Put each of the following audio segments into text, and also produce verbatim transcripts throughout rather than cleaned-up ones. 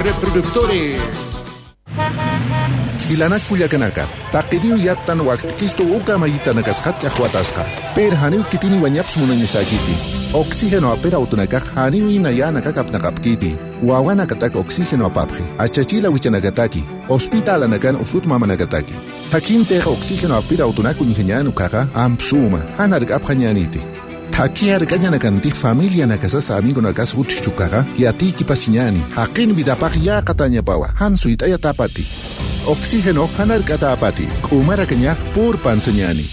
Reproductores. Ilanak pullakanaka, taqiniw yattan waqtikistu uka mayitanakasqa chaqwatasqa. Per haniw kitini wañaps munañisakiti. Oxígeno apera utunakaq haniw inayanakakapnaqapkiti. Wawanakatak oxígeno apapji. Achachila wichanakataki. Hospital anakan usut mamanakataki. Takinteja oxígeno apira utunaku ñijañanukaqa ampsuma. Hanark apjañaniti. Takiar kañanakantik familia nakasasa amigo nakas utchukaqa yatiki pasiñani. Haqin vidapaq yaqatañapawa. Hansuit ayatapati. Oxígeno hanarkatapati. K'umarakañaq purpansañani.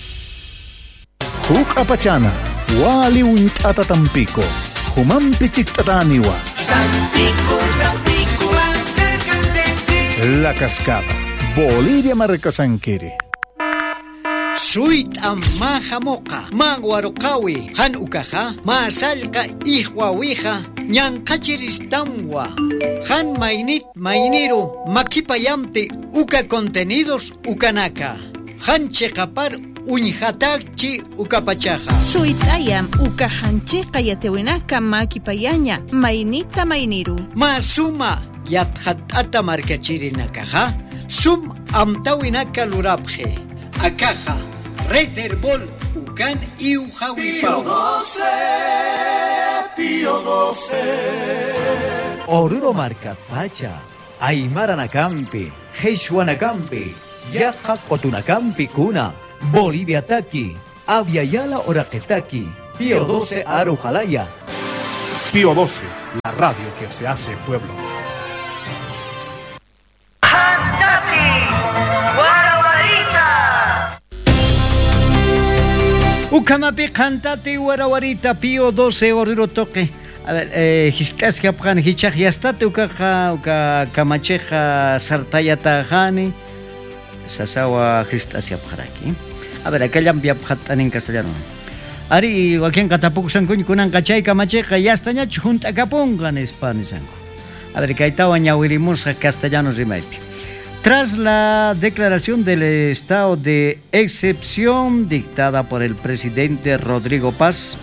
Huk apachana. Wali unt'ata Tampico. Humampi chikt'ataniwa. Tampico, Tampico, acércate. La Cascada. Bolivia markasankiri. Suyt'am mahamuqa, manwaruqawi, han ukaja, masallqa ihwawija, ñanqachiristamwa, han mainit mainiru, makipayamti uka contenidos ukanaka, han cheqapar uñjatakchi ukapachaja. Suyt'ayam uka hanchiqa yatewinaka makipayaña, mainita mainiru. Masuma yatjat'ata markachirinakaja, sum amtawinaka lurapje. Acaja, Red Herbol, Ucan y Ujahuipao. Pío doce, Pío doce. Oruro Marca Pacha, Aymara Nakampi, Jesuanacampi, Yaja Cotunacampi Cuna, Bolivia Taki, Aviala Oraqetaki, Pío doce Arujalaya. Pío doce, la radio que se hace pueblo. Ukamapi qantati warawarita Pío doce Oruro toque. A ver, eh, histasqa pqan hichaq yastati ukaqa uka kamacheqa sartayata jani sasawa histasqa pqaraki. A ver, akallampi apqatanin castellano. Ari wakinqa tapukusankuña kunanqa chay kamacheqa yastañachu junt'akapunqa nispa nisanku. A ver, kaytawan ñawirimusqa castellano rimaypi. Tras la declaración del estado de excepción dictada por el presidente Rodrigo Paz,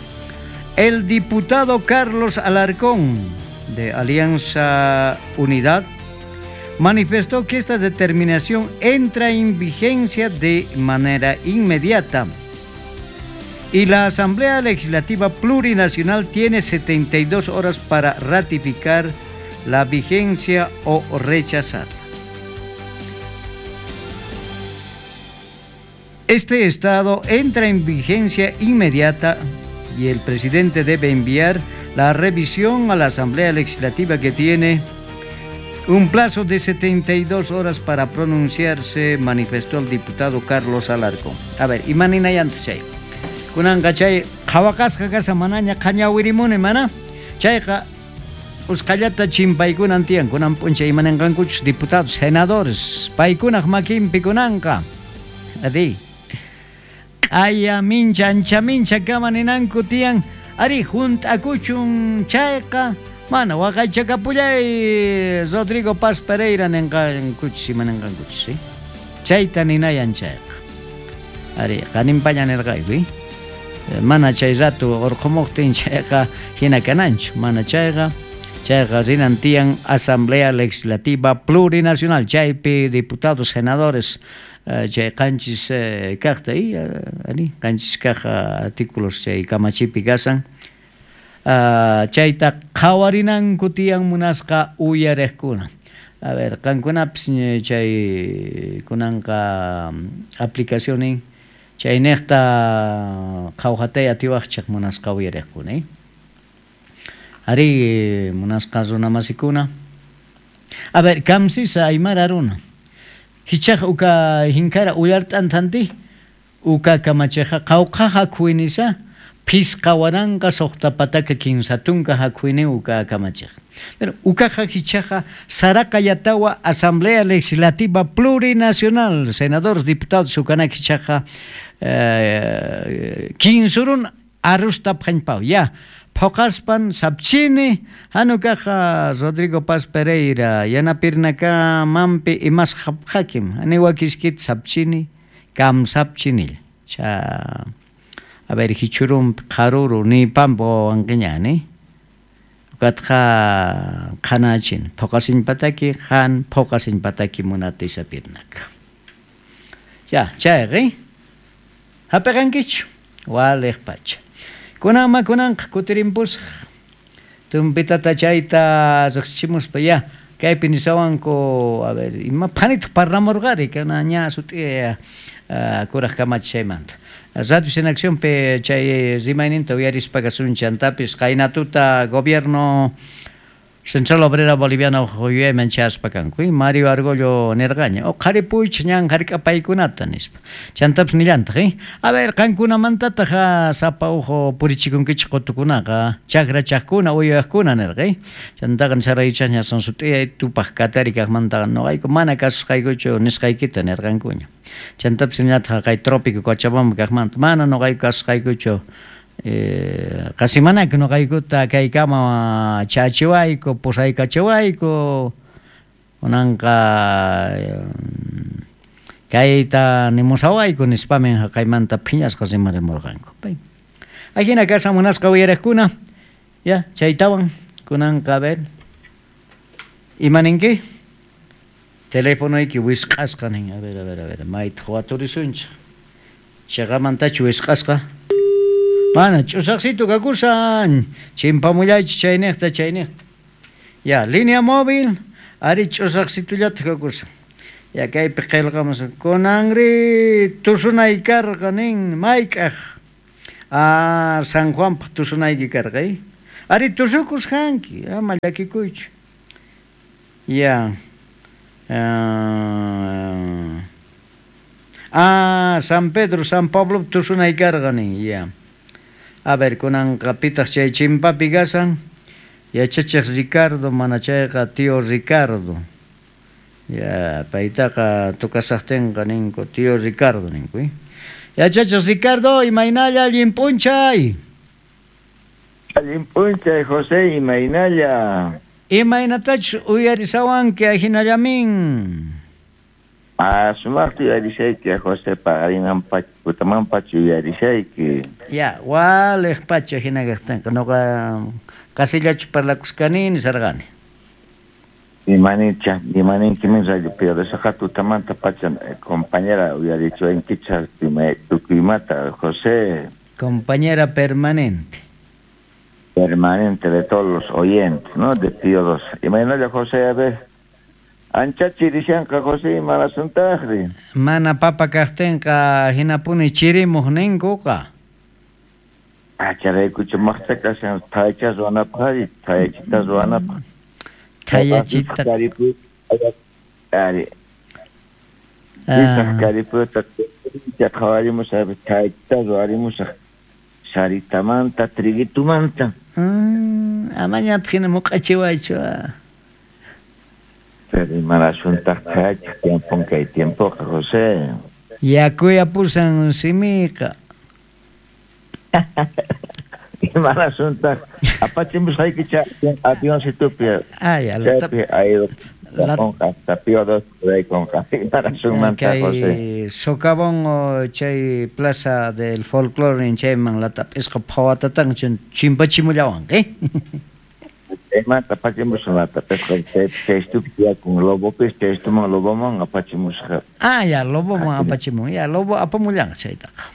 el diputado Carlos Alarcón, de Alianza Unidad, manifestó que esta determinación entra en vigencia de manera inmediata y la Asamblea Legislativa Plurinacional tiene setenta y dos horas para ratificar la vigencia o rechazarla. Este estado entra en vigencia inmediata y el presidente debe enviar la revisión a la Asamblea Legislativa, que tiene un plazo de setenta y dos horas para pronunciarse, manifestó el diputado Carlos Alarcón. A ver, imaninayanta chay. Kunanqa chay qhawaqasqa kasa manaña qhañawirimuni mana. Chayqa usqhallata chimpaykunan tiyan, kunan p'unchay imaninqankuchus diputados, senadores, paykunaq makinpi kunanqa. Adi. Q'aya mincha, ancha mincha kama ninanku tiyan, ari junt'akuchun chayqa, mana waqaychakapullay Rodrigo Paz Pereira ninqankuchis imaninqankuchis, ¿sí? Chayta ninayan chayqa. Ari, qaninpaña nirqayku, ¿eh? Mana chay rato urqumuqtin chayqa hina kananchu, mana chayqa, chayqa rinan tiyan Asamblea Legislativa Plurinacional, chaypi diputados, senadores, chay qanchis kaqta y ari qanchis kaq artículos chay kamachipi kasan chayta qhawarinanku tiyan munasqa uyariqkuna. A ver, qankunapis chay kunanqa aplicacionin chaynejta qhawjatay atiwaqchaq munasqa uyariqkuna, eh? Ari munasqa runamasikuna. A ver, kamsisa aymara runa. Hichaq uka hinkara uyart'antanti uka kamacheqa qawqa hakuinisa phisqa waranqa suqta pataka kinsatunka hakuini uka kamacheqa. Pero ukaqa hichaqa saraqa yatawa Asamblea Legislativa Plurinacional, senadores, diputados ukanak hichaqa eh, kinsurun arrusta phanpaw ya. Phoqaspan sapchini hanukaqa Rodrigo Paz Pereira yanapirnaka mampi imas haphakim aniwakiskit sapchini kam sapchinil cha a ver hichurum qaruru ni pampo anqiñani Ukatqa qhanachin phuqasinpataki han phuqasinpataki munata isapirnaka. Ya, chayqi hapiqankichu waliq pacha. Kunanma kunanqa kutirimpusaq tumpitata chayta riqsichimuspa ya kaypi nisawanku a ver ima phanitaq parlamurqari kana ña sut'i kuraq kamachi chaymanta. Radio en Acción pe chay rimayninta uyarispa kasunchan qaynatuta gobierno Central Obrera Boliviana yuyayman chayaspa kanku Mario Argollo nirqaña o qharipuychik ñan hark'apaykunata nispa chantapis nillantaq eh a ver qankunamantataq sapa uhu purichikunkichik qutukunaqa chakrachaqkuna uywaqkuna nirqa eh chantaqa nisaraychaqña sut'iyay tupaq katari kaqmantaqa nuqayku mana kasusqaykuchu nisqaykita nirqankuña chantapis nillataq kay trópico Cochabamba kaqmanta mana nuqayku kasusqaykuchu Eh, qasimanaka nuqaykuta kaykama chachiwayku pusaykachiwayku kunanqa kayta nimusawayku nispamin haqaymanta phiñasqa rimarimurqanku. Ajina kashan munasqa uyariqkuna ya chaytawan kunanqa a ver imaninki telefonoyki wisq'asqa nin a ver a ver a ver maytaq waturisunchik chayqamantachu wisq'asqa mana ch'usaqsitu kakusan chimpamullaychik chayniqta chayniqta ya línea móvil ari ch'usaqsitullataq kakusan ya kaypi qillqamus kunanri tusunay karqa nin mayk'aq ah San Juanpaq tusunayki karqa eh ari tusukusqanki ama llakikuychu ya ah San Pedro San Pablo tusunay karqa nin ya. A ver, kunanqa pitaq chay chimpapi kasan yachachiq Ricardo mana chayqa tío Ricardo ya paytaqa tukasaqtinqa ninku tío Ricardo ninku eh yachachiq Ricardo imaynalla allin p'unchay allin p'unchay José imaynalla imaynatachus uyarisawanki ajinallamin. Ah, sumaqta uyarishayki José paqarinman pacha putaman pacha uyarishayki. Ya, waliq pacha hina kaqtinqa nuqa qasillachu parlakusqani nisarqani. Imanincha, imaninkimin rayo Pío tutamanta pacha compañera uyarichuankicha tukuymata José. Compañera permanente. Permanente de todos los oyentes, ¿no? De Pío doce. Imaynalla José, a ver. Ancha chirishanqa José imarasuntajri. Mana papa kaqtinqa hinapuni chirimuq ninkuqa. Acharaykuchu maqta kashan thayacha ruwanapaq ari thayachita ruwanapaq. Thayachita. Ari. Isaq kariputa qhawarimusaq thayachita ruwarimusaq saritamanta triguitumanta. Amañataq hina muq'achiwaychu. Pero imarasuntaj thayachik tiempon kay tiempoqa José. Yakuyapusan simiqa. Imarasuntaj apachimusqaykicha avioncitupi. Ah, ya, chaypi aeropuerto Pío doce raykunqa. Imarasunmanta José. Socavón chay plaza del folclore chayman latap'isqa phawatatan chimpachimullawanqa eh. Chaymanta apachimusqa latap'isqa chaystupi tiyakun lobopis chaystuman loboman apachimusqa. Ah, ya, loboman apachimun. Ya, lobo apamullanqa chaytaqa.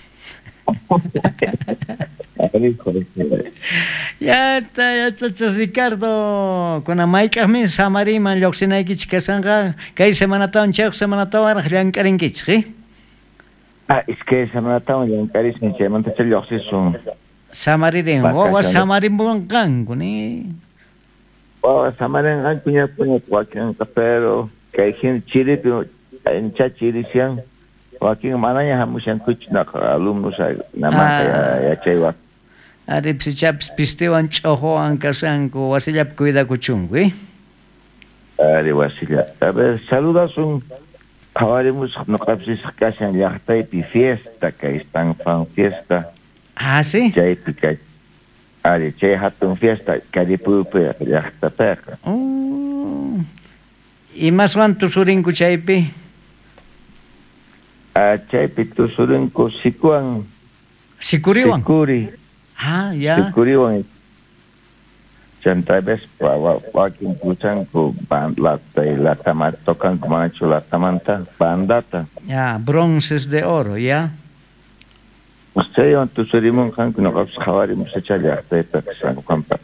Ya, yachachas Ricardo, kunan mayk'aqmi samariman lluqsinaykichik kashanqa kay semanatawan chayuq semanatawanraq llank'arinkichik eh? Ah, iskay semanatawan llank'arisun chaymantacha lluqsisun. Samaririn, wawa samarimpunqanku ni. Wawa samarinqanku ñapuña wakinqa pero kay hina chiripi ancha chirishan wakin manaña hamushankuchu naqa alumnos namanta yachaywan. Ari psichapis pistiwan ch'uquwan kashanku wasillapi cuidakuchunku eh. Ari wasilla. A ver, saludasun qhawarimusaq nuqapis kashan llaqtaypi fiesta kay San Juan fiesta. Ah, sí. Chaypi kay ari chay hatun fiesta Karipuypi llaqtapiqa. Oh. Imaswan tusurinku chaypi? Ah, chaypi tusurinku sikuwan. Sikuriwan? Sikuri. Ah, ya. Sikuriwan. Chanta ves wakin puchanku lata y lata tocanku manachu latamanta bandata. Ya, bronces de oro, ya. Chaywan tusurimunqanku noqapis qhawarimushacha llaqtayta San Juanpa.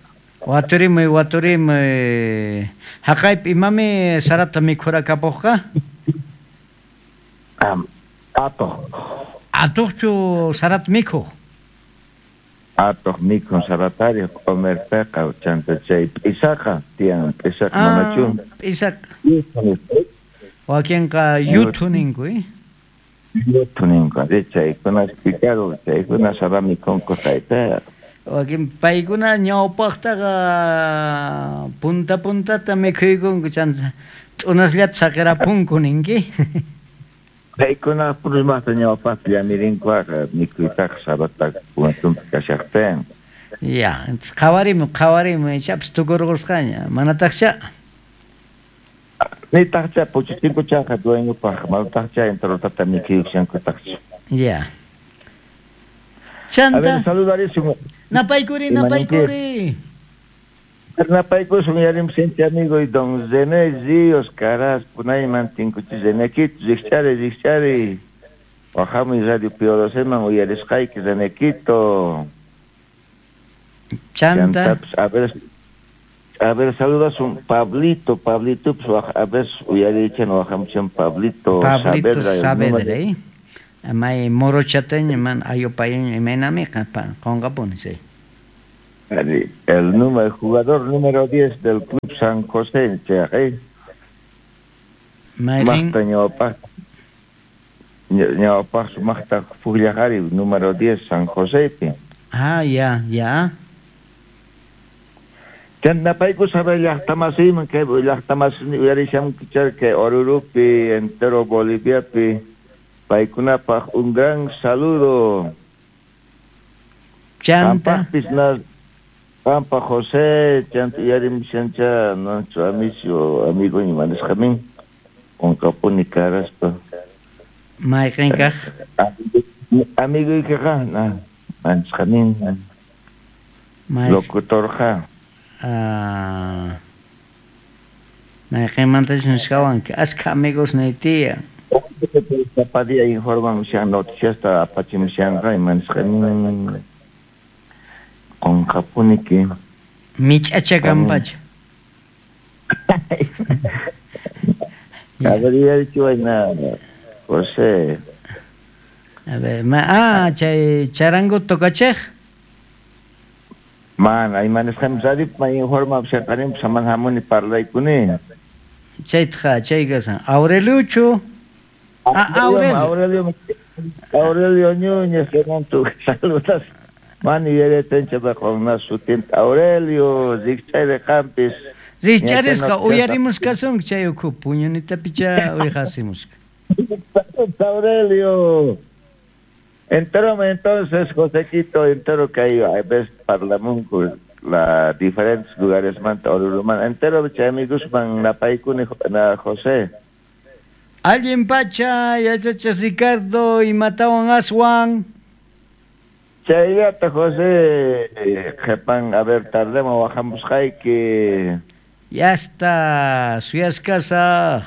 Waturimuy, waturimuy. Haqaypi imami sarata mikhurakapuqqa? Um, atuq. Atuqchu sarata mikhuq? Atuq mikhun saratari q'umirpiqa chanta chay p'isaqa tiyan p'isaqa manachu? P'isaqa. Wakinqa yuthu ninku, eh? Yuthu ninku, chaykuna picaro, chaykuna sara mikhunku tayta. Wakin paykuna ñawpaqtaqa punta puntata mikhuykunku chanta t'unasllata saqirapunku ninki. Paykuna purmaqta ñawpaqta llamirinkuaqa mikhuytaqa sarata puntunpi kashaqtin. Ya, entonces qhawarimu, qhawarimu, ichapas tukurqusqaña, manataqcha. Nitaqcha puchuchinkuchaqa dueñopaq, manataqcha enterotata mikhuykushankutaqchu. Ya. Chanta. A ver, saludarisun. Napaykuri, napaykuri. Napaykusun yarimsinchi amigo y don Zené Ríos Caras, punayman tinkuchi Zenequito, rikchari, rikchari. Wahamuy Radio Pío Doceman uyarisqayki Zenequito. Chanta. A ver, a ver, saludas un Pablito, Pablito, pues, a ver, uyarichan wahamuchan Pablito. Pablito Saavedra, eh. May morochateño man ayopayeño imaynamiqa qonqapuni, sí. El número, el jugador número diez del Club San José, ¿eh? Maqta ñawpaq ñawpaq sumaqta pukllaqari número diez San Josepi. Ah, ya, ya. Chantapayku sabe llaqtamasiyman kay llaqtamasini uyarishamkichar kay Orurupi, entero Boliviapi, paykunapaq un gran saludo. Chanta. Pampa José, chanta uyarimshancha nuestro amigo, amigo imanisqamin, qonqapuni karaspa. Mayqin kaq? Amiguykiqa, na, manisqamin. Locutorqa. Ah. Mayqinmantachus nisqawanki, askha amigos naytiya. Sapa día informamushan noticiasta apachimushanqa imanisqamin. Qonqapuniki. Mich'acha kanpacha. A ver, yuyarichiwayna, José. A ver, ma, ah, chay charango tocacheq. Man, imanisqamin radio ma informamushanqanin saman hamuni parlaykuni. Chaytaqa, chay kasan. Aureliuchu. Ah, Aurelio. Aurelio, Aurelio Núñez, tu saludas. Mani yuyaretancha qonna sutinta Aurelio, rikchari qampis. Rikcharisqa uyarimusqasunki chay ukhu puñunitapicha uyqasimusqa. Aurelio. Entero entonces, Josequito, entero que hay a veces parlamunku la diferentes lugares manta Oruruman. Entero chay amigos man napaykuni na José. Allin pacha, yachachas Ricardo, imatawan aswan. Chayllata José, qhepan, a ver, tardema wahamusqayki. Ya está, suyasqasaq.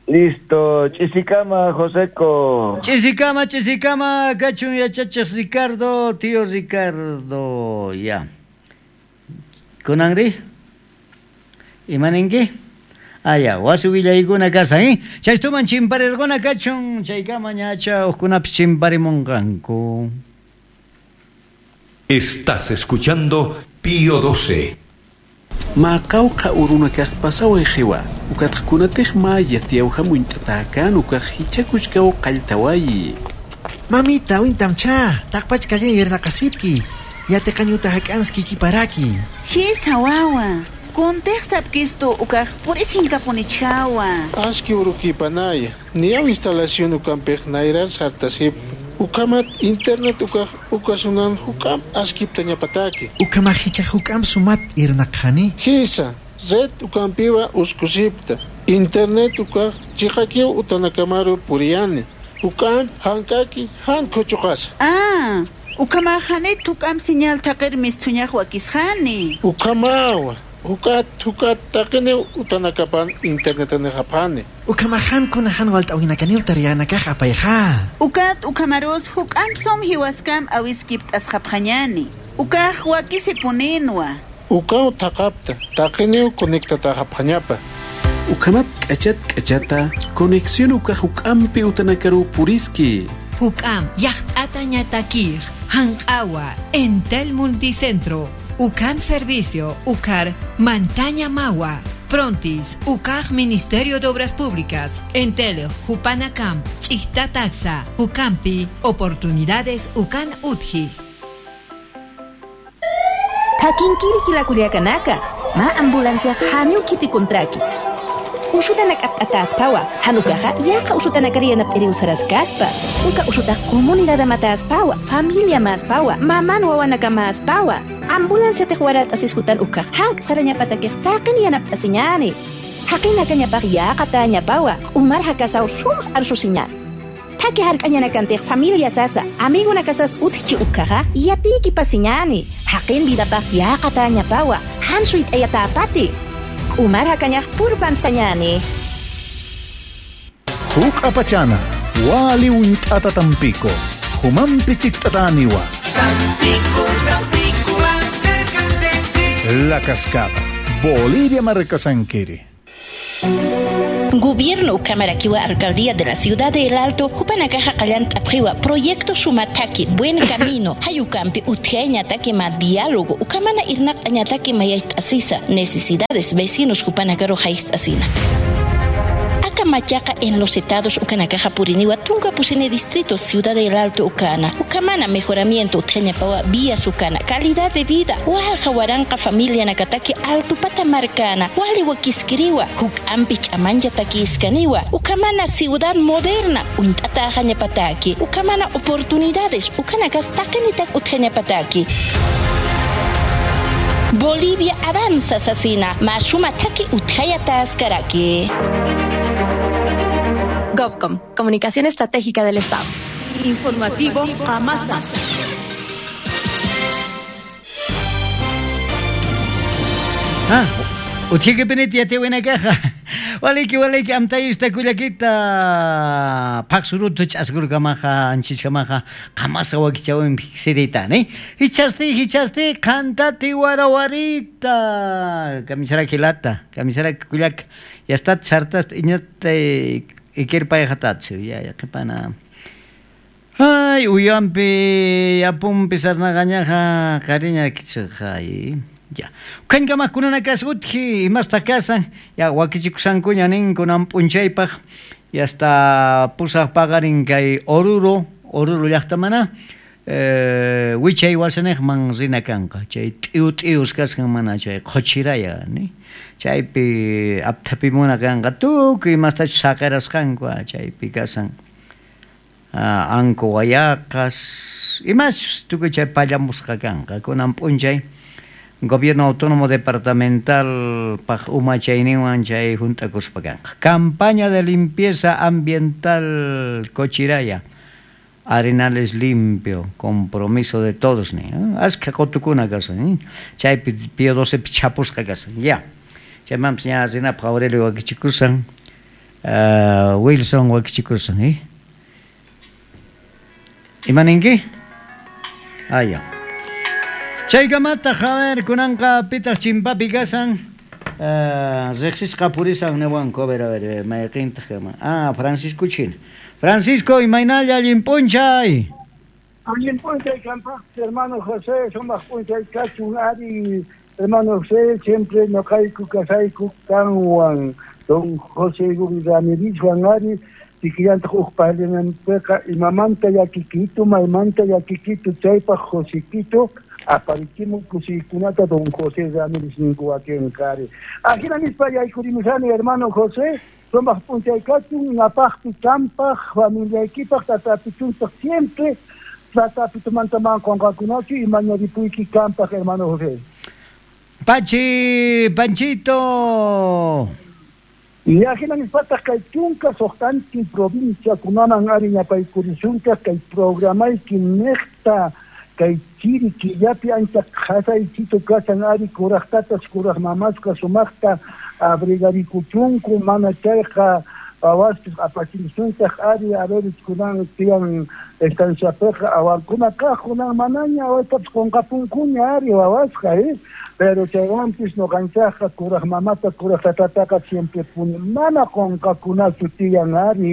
Listo, ch'isikama, Joseco. Ch'isikama, ch'isikama, kachun yachachiq Ricardo, tío Ricardo, ya. Kunanri? Imaninki? Ah, ya, wasi willaykuna kasan, eh? Chaystuman chimparirquna kachun, chaykama ñacha hukkunapis chimparimunqanku. Estás escuchando Pío doce. Maqawqa urunakaq pasaway qiwa, ukatqkunatiq maya tiyawhamunt'atakan ukaq hichakuchkaw qalltawayi. Mamita, wintamcha, taqpachkallan yernaqasipki, yateqañuta hak'anski kiparaki. Hisa wawa, kuntiqsapkistu ukaq purisinkamunichhawa. Aski urukipanaya, niyaw instalación ukampiq nayrar sartasip. Ukamat internet ukaq ukasunan hukam askipta ñapataki. Ukama hicha hukam sumat irnaqhani. Hisa, red ukampiwa uskusipta. Internet ukaq chiqakiw utanakamaru puriyani. Ukam hankaki han kuchuqasa. Ah, Ukamahani tukam señal taqirmis thuñaq wakisqani. Ukamawa. Ukat ukat taqini utanakapan internet nehapani. Ukamahan kunahan waltawinakanil tarianakaj apayja. Ukat ukamaros hukamsom hiwaskam awiskip tasqapqañani. Ukaj wakisipuninwa. Ukaw taqapta taqini conectataqapqañapa. Ukamat k'achat k'achata conexión ukaj ukampi utanakaru puriski. Hukam yaqt'ata ñatakij hanq'awa Entel Multicentro. Ucan Servicio, Ucar, Mantaña Mawa, Prontis, Ucaj Ministerio de Obras Públicas, Entel, Jupanacamp, Chichtataxa, Ucampi, Oportunidades Ucan Utji. Takinkiri hilakuliakanaka, ma ambulancia haniu kiti kontrakis. Ushutanak aptataspawa, hanukaja yaqa ushutanakariyanap eriusarascaspa. Uka ushutaj comunidad mataspawa, familia maspawa, maman wawanaka maspawa. Ambulancia tejuarat asishutan ukaj hak sarañapatakej taqin yanaptasiñani. Haqinakañapaj yaqa tañapawa, umar hakasaw shumaj arsusiña. Taki hark'añanakantej familia sasa, amigo nakasas utchi ukaja, yatiki pasiñani. Haqin vidapaj yaqa tañapawa, hansuit ayatapati. Umar hakañaj purpan sañani. Huk apachana, wali unt'ata tampico, humampi chiktataniwa. Tampico, Tampico, acércate. La Cascada, Bolivia Marcasanquiri. Gobierno Ukamarakiwa Alcaldía de la Ciudad de El Alto, Jupanakaja Qallant Apjiwa, Proyecto Sumataki, Buen Camino, Hayukampi, Utjeñataki ma Diálogo, Ukamana Irnak Añataki Mayaytasisa, Necesidades Vecinos Jupanakaro Jaistasina. Machaca en los estados Ucanakaja Puriniwa, Tunca Pusine Distrito, Ciudad del Alto Ucana, Ucamana Mejoramiento, Utjeñapawa, Vías Ucana, Calidad de Vida, Hualja Huaranca Familia Nakataki, Alto Patamarcana, Hualiwa Quisquiriwa, Hucampich Amanya Taquiscaniwa, Ucamana Ciudad Moderna, Uintata Jañapataki, Ucamana Oportunidades, Ucanacas Taquenitak Utjeñapataki. Bolivia avanza, Sasina, Mashuma Taki Utjayataskaraki. GovCom, Comunicación Estratégica del Estado. Informativo Amasa. Ah, utjike peneti ate buena caja. Waliki waliki amtayista kuyakita paksurutu chaskurkamaja anchichkamaja qamasa wakichawin piksirita ne hichasti hichasti kantati warawarita kamisara kilata kamisara kuyak ya está sartas iñata ikirpayjatatsu ya ya qipana ay uyampi apumpi sarnaqañaja qariña kichqay. Ya. Kankamakkunana kasutji imasta kasan ya wakichikusankuña ninkunan p'unchaypaq ya hasta pusaq paqarin kay Oruro Oruro llaqtamana eh wichay wasaniqman rina kanqa chay t'iu t'ius kasqan mana chay qhuchiraya ni chaypi apthapimuna kanqa tukuy imastachus saqirasqanku chaypi kasan anku wayaqas imachus tukuy chay pallamusqa kanqa kunan p'unchay Gobierno Autónomo Departamental paj umachayninwan chay junt'akuspa kanqa. Campaña de limpieza ambiental Cochiraya. Arenales limpio, compromiso de todos ni. Aska qotukuna kasan, chaypi Pío doce chapusqa kasan. Ya. Chaymanpas ña rinapaq Aurelio wakichikusan, uh, Wilson wakichikusan, eh? Imaninki? Ah, ya. Chaykamata a ver, kunanqa pitaq chimpapi kasan, uh, riqsisqa purisan niwanku, a ver, a ver, mayqintaq kaman. Ah, Francisco China. Francisco, imaynalla allin p'unchay. Allin p'unchay kanpaq, hermano José, sumaq p'unchay kachun ari, hermano José, siempre noqayku kasayku kanwan, don José Ramírez ari, tikillantaq uq parlinanpiqa imamanta llakikitu, maymanta llakikitu, chaypaq Josequito, aparichimun kusiykunata don José Ramírez ninku wakinqari. Ajina nispa yaykurimusani hermano José, sumaq p'unchay kachun, napaqpi champaq, familiaykipaq, tatapichuntaq siempre, tatapitumanta qunqakunachu imañaripuyki kanpaq hermano José. Pachi, Panchito. Y ajina nispataq kay chunka suqtantin provincia kunaman ari ñapaykurishunchaq kay programayki niqta kay Kay chiri killapi ancha qhasaychito kasan ari kuraqtatas kuraq mamasqa sumaqta abrigarikuchunku mana chayqa wawaspis apachimusuntaq ari a ver kunan tiyan estanciapiqa awankuna kaq kunan manaña awaytapis qunqapunkuña ari wawasqa eh pero chaywanpis ñuqanchaqqa kuraq mamata kuraq tatataqa siempre puni mana qunqakunachu tiyan ari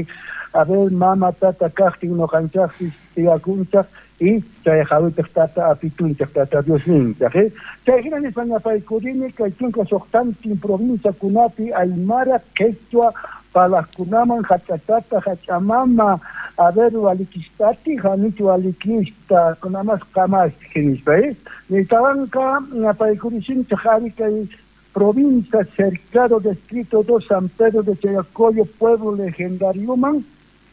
a ver mama tata kaqtin ñuqanchaqpis tiyakunchaq y chay jawitaq tata apitunchaq tata Dios ninchaq eh chay hina nispa ñapaykurini kay chunka suqtantin provinciakunapi aymara quechua palaqkunaman hach'atata hach'amama a ver walikistati hanichu walikista kunamas qamasti nispa eh nitawanqa ñapaykurishinchaq ari kay provincia cercado distrito dos San Pedro de Chayacoyo pueblo legendarioman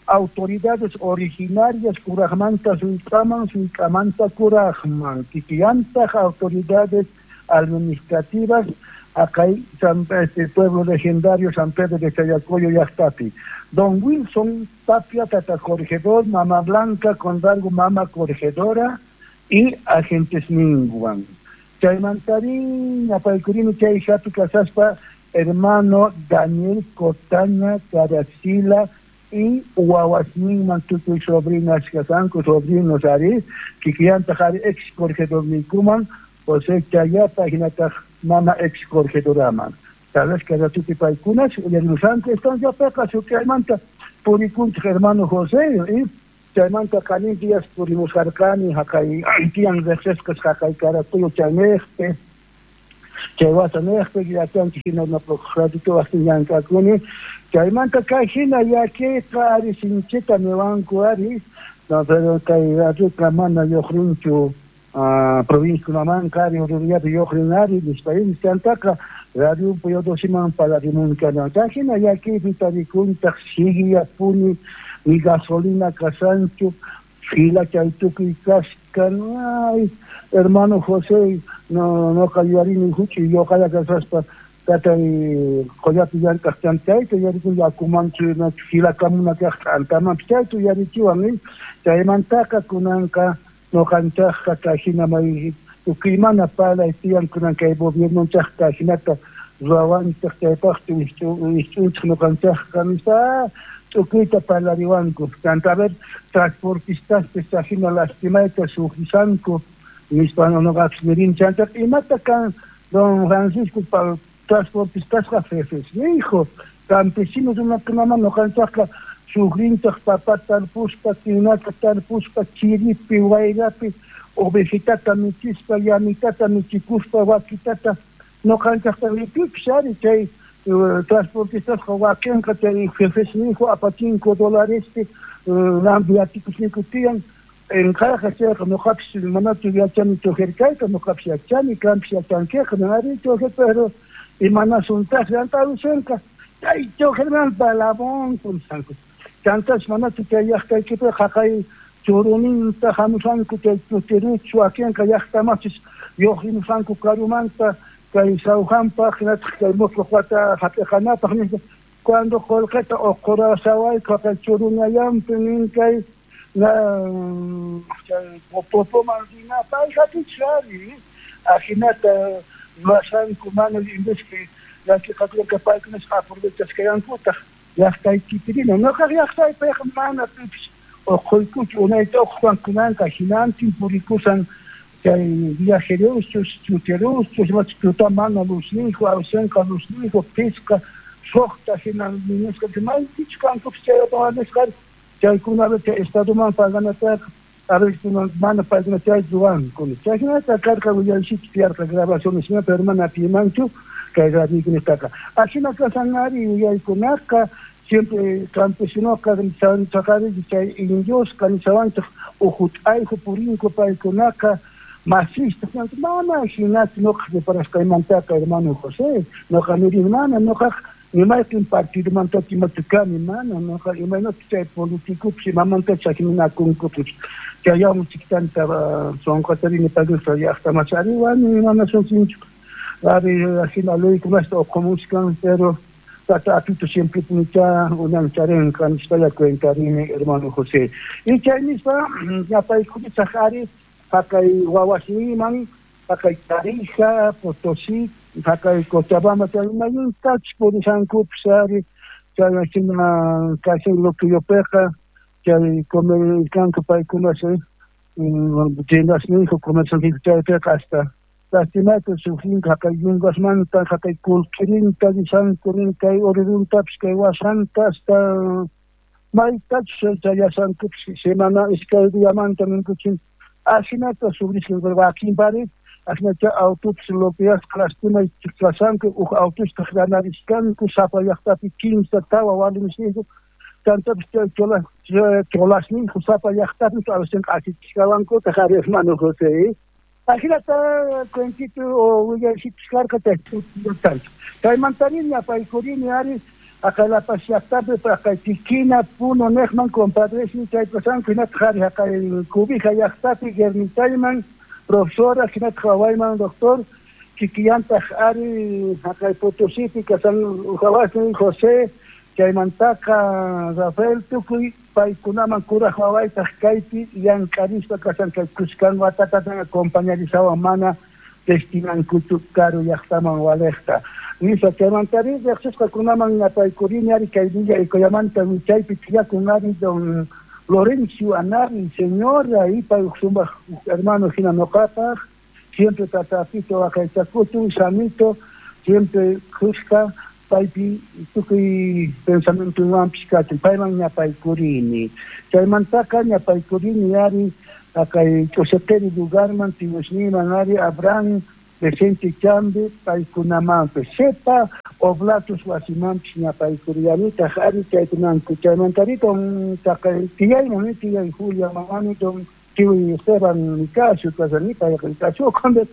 autoridades originarias kurajmanta sullk'aman sullk'amanta kurajman kikillantaq autoridades administrativas acá San, este pueblo legendario San Pedro de Chayacoyo llaqtapi Don Wilson Tapia tata corregedor Mama Blanca Condargo mama corregedora y agentes ninguan chaymantari ñapaykurini chay hapi kasaspa hermano Daniel Cotaña Caracila y wawasninman tukuy sobrinas kasanku sobrinos ari kikillantaq ari ex corregedorniykuman José Chayapa hinataq mama ex corregedoraman tal vez que ratupi paykunas uyarimusanku estanciapiqa suk'aymanta purikunchik hermano José y chaymanta qanin días purimusqarqani haqay tiyan riqsisqas haqay Caracollo chaynejpi chay wasanejpi yachanchik hina radito waqtin llank'akuni chaymanta kay hina llakiyqa ari sinchita niwanku ari no pero kay radioqa mana lluqrinchu provinciakunamanqa ari Orurullapi lluqrin ari nispa chantaqa radio Pío Doceman parlarimunkana chay hina llakiypi tarikuntaq siguiyapuni ni gasolina kasanchu fila chay tukuy kaskan ay hermano José no noqa yuyarini huch'uy lluqalla kasaspa tatay qollapi llank'aq chantayta yuyarikun yakumanchu filakamuna kaq t'antamanpis chayta yuyarichiwan chaymantaqa kunanqa ñuqanchaqqa kay hina may tukuymana parlay tiyan kunan kay gobiernonchaqqa hinata ruwawanchaq chaypaqchu wischuchik ñuqanchaqqa nispa tukuyta parlariwanku chanta a ver transportistaspis hina lastimayta sufrisanku nispa ñuqapis nirini chantaqa imata kan don Francisco transportistasqa jefesnijo campesinos runakunaman ñuqanchaqqa sufrinchaq papa tarpuspa tinata tarpuspa chiripi wayrapi ovejitata michispa llamitata michikuspa wakitata ñuqanchaqta ripipis ari chay transportistasqa wakinqa chay jefesnijo apachinku dolarespi viatikusninku tiyan enqayqa chayqa ñuqapis manachu yachani choferkayta ñuqapis yachani kanpis yachankiqa ari chofer pero imanasuntaq llant'arusenqa chay choferman palabonku nisqanku chantas manachu chay llaqtaykipiqa haqay churuninta hamusanku chay chutiruchu wakinqa llaqtamachis lluqrimusanku karumanta kay Sawjanpaq hinataq kay musuq wata hap'iqanapaq nispa cuando qullqita uqurasawayku haqay churunallanpi nin kay na chay popoman rinapaq hap'ichis ari ajinata ruwasanku mana en vez que llakiqakunaka paykunasqa aprovechasqayankutaq llaqtaykipirina ñuqaq llaqtaypiqa mana pipis uquykuchu unayta uqwan kunanqa hinantin purikusan chay viajeroschus chuteroschus imachu mana luznijo awsanqa luznijo pisqa suqta hina nisqa maypichu kankupis chay nisqa chaykuna chay estadoman paganataqa a veces mana paykuna chay ruwanku chay hinata karqa willaysichu tiyarqa grabaciones pero mana atimanchu kay radiokunataqa ashina kasan ari yuyaykunaqa siempre campesinoqa chaqari chay indiosqa nishawanchaq uqut'ayku purinku paykunaqa masista mana hinachu ñuqa reparasqaymantaqa hermano José ñuqa nirini mana ñuqaq nimayqin partidomantachu imachu kani mana ñuqa imaynachu chay politicopis imamantachu sakiminakunkupis chayawmi chiktanta sunqatarini paykunata llaqtamachi ari wani mana sunsinchu ari hina leykunasta uqumuchkan pero tata apito siempre punicha unancharenqa nispalla cuentarini hermano José y chay nispa ñapaykunisaq ari Haqay wawasniman, haqay Tarija, Potosí, haqay Cochabamba, chay mayuntachus purisankupis ari, chay hina kashan Loquillopiqa, chay comerkanku paykuna tiendasninku, comerciantinku chaypiqa hasta lastimata sufrinku haqay yungasmanta, haqay qullqirinta risanku rin kay Oruruntapis kay wasanta hasta maytachus chayasankupis semana iskay diamanta ninkuchin asinata sufrisqan wakinpari asinacha autopis loqueasqa lastima chiqlasanku uj autostaq ganariskanku sapa llaqtapi kimsa tawa warmisninku chantapis chay cholas cholasninku sapa llaqtapi awasinqa asichishkawankutaq ari hermano José. Ajinata cuentito o willaysichis karqa chay tanto. Chaymantari ñapaykurini ari haqay La Paz llaqtapi haqay Tiquina, Puno neqman compadresni chay pasanku hinataq ari haqay Cubija llaqtapi Guermitayman profesora hinataq wawayman doctor kikillantaq ari haqay Potosipi kasan wawasnin José chaymantaqa Rafael tukuy paykunaman kuraj wawaytaq kaypi llank'arispa kasan kay kuskan watatatan acompañarisawan mana destinankuchu karu llaqtaman walejta. Nispa chaymantari riqsisqakunaman ñapaykurini ari kay Villa Ecoyamanta wichaypi tiyakun ari don Lorenzo Anari, señora, y pay sumaq hermano hina noqapaq, siempre tatapito waqaychakutun, samito, siempre kuska paypi tukuy pensamientowanpis kachun, payman ñapaykurini. Chaymantaqa ñapaykurini ari haqay Ch'usiqiri lugarman tiyusniman ari Abraham Vicente Chambi paykunamanpis sepa Oblatos wasimanpis ñapaykurillanitaq ari chaykunanku. Chaymantari don taqay tiyayman tiyay Julia mamani don tiyuy Esteban Nicasio kasani payqa Nicasio Conde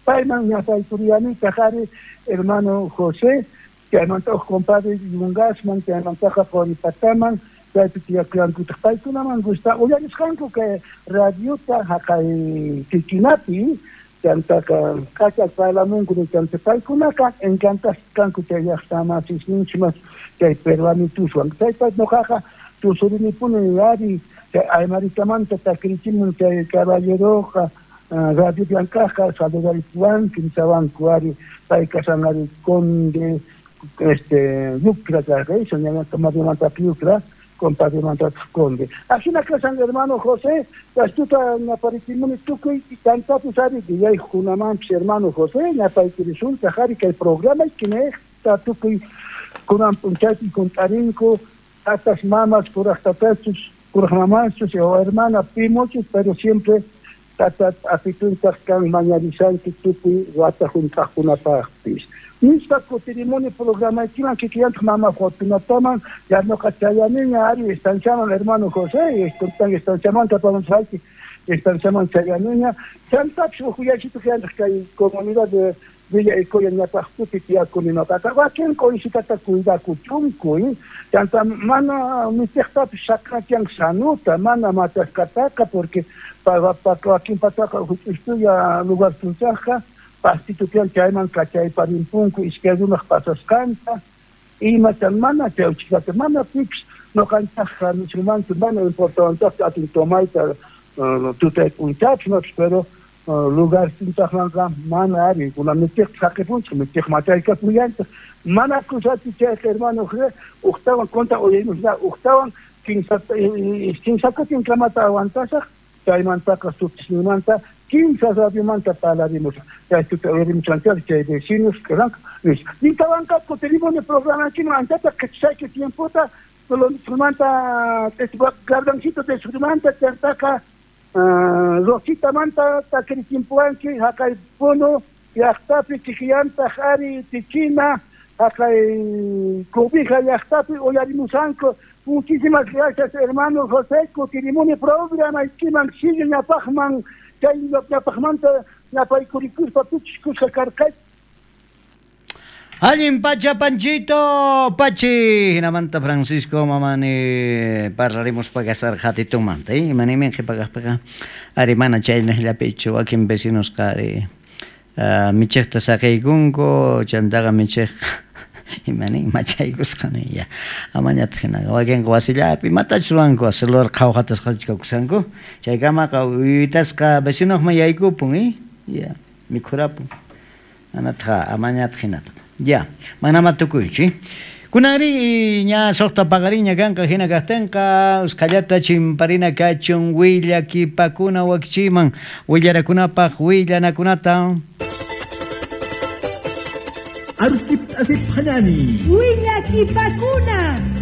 payman ñapaykurillanitaq ari hermano José chaymanta uj compadre Yungasman chaymantaqa Qoripataman chaypi tiyakullankutaq paykunaman gusta uyarisqanku kay radiota haqay Tiquinapi chantaqa kachaq parlamunku chanta paykunaqa encantasqanku chay llaqtamasisninchik chay peruanituswan chaypa ñuqaqa tusurinipuni ari chay aymaritamanta takrichimun chay caballeroqa radio llank'aqqa saludaripuwanku nisawanku ari pay kasan ari conde este Yucra karqa ñañata Mariamanta Yucra compadre Mantataq Conde. Ajina kasan hermano José, kastuta ñaparichimuni tukuy tantapis ari yaykunamanpis hermano José, ñapaykirisunchaq ari kay programa kinejta tukuy kunan p'unchaypi kunt'arinku tatas mamas kuraj tatachus kuraj mamachus o hermana pimochus, pero siempre tata apituntaq kan mañarisanki tukuy wata junt'aqkunapaqpis. Nispa kutirimuni programaykiman kikillantaq mama Fortunataman ya noqa chayaniña ari estanciaman hermano José, estuntan estanciamanta pamusayki estanciaman chayaniña chantapis uj yachituq kay comunidad de Villa Ecoya ñapaqtupi tiyakuni noqaqa wakin qoysitata cuidakuchunku chanta mana michiqtapis saqachian sanuta mana machasqataqa porque wakinpataqa huch'uytulla lugar tunchaqqa pastito tiyan chayman kachayparinpunku iskay runaq pasasqanta imatan mana chawchikata mana pipis noqanchaqqa nisunmanchu mana importantaqchu atin tomayta tutay p'unchaypis noqapis pero lugar tunchaqmanqa mana ari kunan michiqta saqipunchik michiq machaykapullanchik mana kusachu chayqa hermano José uqtawan conta uyarimusqa uqtawan kimsa kimsa kutinkamata aguantasaq chaymantaqa sutisninmanta kimsa radiomanta parlarimusaq chaytuta uyarimusanchik chay vecinos karanku nispa nintawanqa kutirimuni programakiman anchata qhichayki tiempota Colombiamanta Gardancito de Surmanta chantaqa Rositamanta takrichimpuwanki haqay Puno llaqtapi kikillantaq ari Tiquina haqay Cobija llaqtapi uyarimusanku. Muchísimas gracias hermano José, kutirimuni programaykiman sigue ñapaqman chay ñapaqmanta ñapaykurikuspa pichis kuska karqay. Allin pacha Panchito Pachi hinamanta Francisco mamani parlaremos pagasar jatitumanta eh imanimin qhipaqaqpiqa ari mana chaynaqllapichu wakin vecinosqa ari uh, michiqta saqiykunku chantaqa michiq Imani machaykusqa nin ya. Amañataq hinaqa wakinqa wasillapi imatachus ruwanku celular qhawqatasqachu kakushanku. Chaykamaqa uyutasqa vecinoqman yaykupun, eh? Ya, mikhurapun. Anatqa amañataq hinataqa. Ya, manama tukuychu, eh? Kunanri ña suqta paqariña kanqa hina kaqtinqa usqhallata chimparina kachun willakipakuna wakichiman willarakunapaq willanakunata. Arustip asip hanani. Willakipakuna.